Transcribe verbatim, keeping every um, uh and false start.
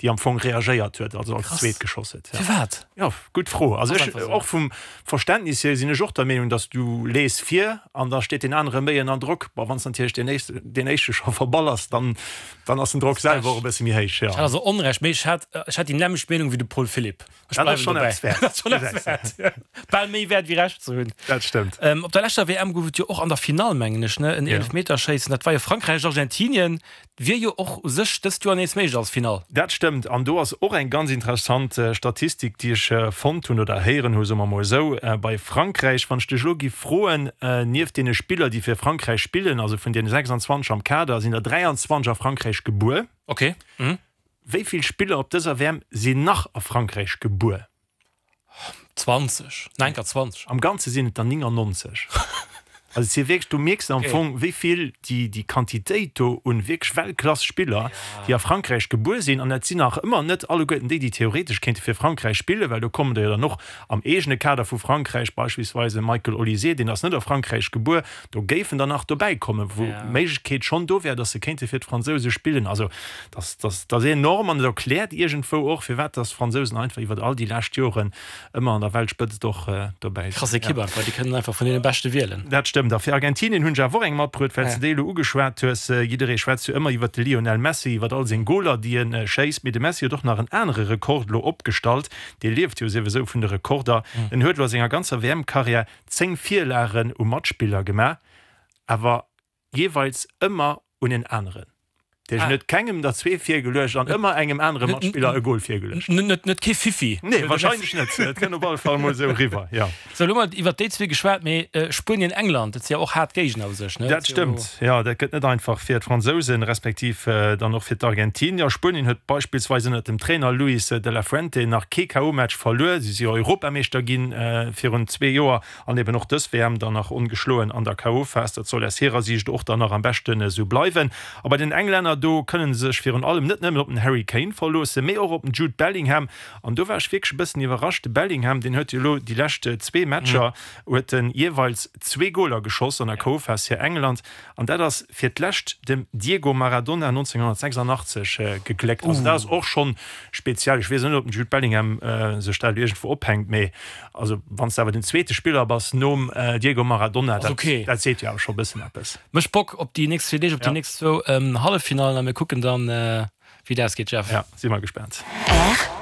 déi am Fong reagéiert huet, also als Krass. zweet geschoss huet. Ja. Firwat? Ja, gutt Fro. Also Ass ech, einfach sou. och vum Verständnis hier sinn ech och der Meenung, dass du lees vir an da steet deen anere méi ënner Drock. Bon, wann s natierlech deen éischte, deen éischte scho verballers, dann, dann ass den Drock selwer och e bësse méi héich, ja. Ech hat also Onrecht, mee ech hat, ech hat déi nämmlecht Meenung wéi de Paul Philipp. Ech Dat ass bleiwen schonn dobäi. eppes wäert. Dat ass schonn eppes wäert. Bal méi wäert wéi Recht ze hunn. Dat stëmmt. Ähm, op der leschter W M gouf et jo och an der Finall, mengen ech, ne, en Ja. Eelefmeterschéissen. Dat war jo Frankräich-Argentinien. Wier jo och u sech dëst Joer nees méiglech als Finall. Dat stëmmt. An do ass och eng ganz interessant Statistik, déi ech fonnt hunn oder héieren hu, soe mer mol esou, bei Frankräich. Wann ech dech elo giff froen, nieft deene Spiller, déi fir Frankräich spillen, also vun deene sechsundzwanzeg am Kader, sinn der dräianzwanzeg a Frankräich gebuer. Okay. Mhm. Wéi vill Spiller op dëser W M sinn nach a Frankräich gebuer? zwanzeg. Nein, grad zwanzeg. Am Ganze sinn et der néngannonzeg. Also et si wierklech, du mierks am Okay. Fong, wéi vill déi, déi Quantitéit do un wierklech Weltklass-Spiller, déi a Frankräich gebuer sinn, an dat sinn nach ëmmer net alleguerten déi, déi theoretesch kéinte fir Frankräich spillen, well do kommen der jo dann och am eegene Kader vu Frankräich, beispillsweis e Michael Olise, deen ass net a Frankräich gebuer, do géifen der nach dobäi kommen, wou Ja. d'Méiglechkeet schonn do wär, datt se kéinte fir d'Fransouse spillen. Also dat, dat, dat ass enorm an et erkläert iergendwou och, firwat datt d'Fransousen einfach iwwer all déi lescht Joren ëmmer an der Weltspëtzt och dobäi sinn. Krass Ekipp einfach, déi kënnen einfach vun deene Beschte wielen. Dat stëmmt. A fir Argentinien hunn ech awer och eng matbruet, well s de déi elo ugeschwat hues. Jidderee schwätzt jo ëmmer iwwer de Lionel Messi, iwwer all seng Goler, déi e schéisst. Mee de Messi huet och nach en anere Rekord elo opgestallt. Dee lieft jo souwisou vun de Rekorder. En huet elo a senger ganzer W M-Karriär zéng Virlagen u Matspiller gemaach, awer jeeweils ëmmer un en aneren. Dee huet kengem der zwee virgeluecht an ëmmer engem anere Matspiller e Gol virgeluecht. Net, net kee Fiffi. Nee, wahrscheinlech net. Et kënnt op alle Fall mol esou eriwwer, jo. Sou, elo hu mer iwwer déi zwee geschwat, mee Spuenien, England, dat si jo och haart Géigner u sech, ne? Dat stëmmt, jo. Dat gëtt net einfach fir d'Fransousen, respektiv dann och fir d'Argentinier. Spuenien huet beispillsweis ënnert dem Trainer Luis de la Fuente nach kee K O-Match verluer. Si si jo Europameeschter ginn virun zwee Joer an eben och dës W M dann nach ongeschloen an der K O-Phas. Dat soll aus hirer Siicht och dann nach am beschten esou bleiwen. A bei den Englänner, do kënnen se sech virun allem net nëmmen op den Harry Kane verloossen, mee och op den Jude Bellingham. An do war ech wierklech e bëssen iwwerrascht. De Bellingham, deen huet jo elo déi lescht zwee Matcher huet en jeeweils zwee Goler geschoss an der K O-Phas fir England. An dat ass fir d'lescht dem Diego Maradona nonzénghonnertsechsundachtzeg gegléckt. Also dat ass och schonn speziell. Ech weess net, ob den Jude Bellingham sech dat elo iergendwou ophänkt, mee also wann s de awer den zweete Spiller bass nom Diego Maradona, dat dat seet jo awer scho e bëssen eppes. Mécht Bock op déi nächst zwee Deeg, op déi nächst zwou Halleffinallen a mir kucken dann, wéi et ausgeet, Jeff. Ja, si mer gespaant. R